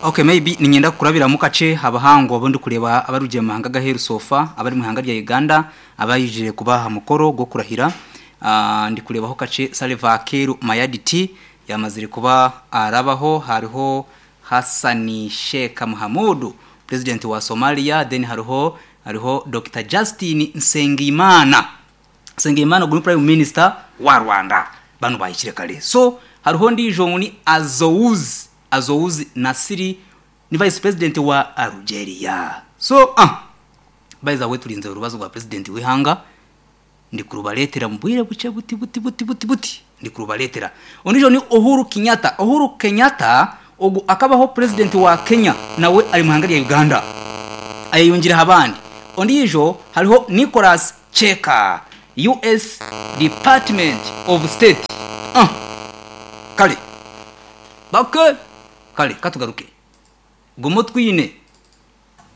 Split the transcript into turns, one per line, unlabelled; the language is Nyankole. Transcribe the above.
Ok maybe niinyenda kukurabiramu kakye abahangu abu ndikureeba abarugire omu mahanga g'aheeru so far abari omu ihanga rya Uganda abaijire kuba aha mukoro gw'okurahira. Ndikureebaho kakye Salva Kiir Mayardit yaamazire kuba arabaho, hariho Hassan Sheikh Mohamud Purezidenti wa Somalia then hariho hariho Dokita Justin Nsengimana. Nsengimana ogu ni Prime Minister wa Rwanda. Banu bahikire kare. So hariho ondiijo ngu ni Azouz Azouz Nasiri ni Vice President wa Algeria. So ah by the way turinzire orubazo rwa President w'eihanga ndikurubareetera omu bwire bukye buti buti buti buti buti ndikurubareetera. Ondiijo ni Uhuru Kenyatta. Uhuru Kenyatta ogu akabaho President wa Kenya nawe ari omu ihanga rya Uganda ayeyungireho abandi. Ondiijo hariho Nicholas Cheka, US Department of State. Ah! Kare. Bake! Kare, ka tugaruke. Guma otwine.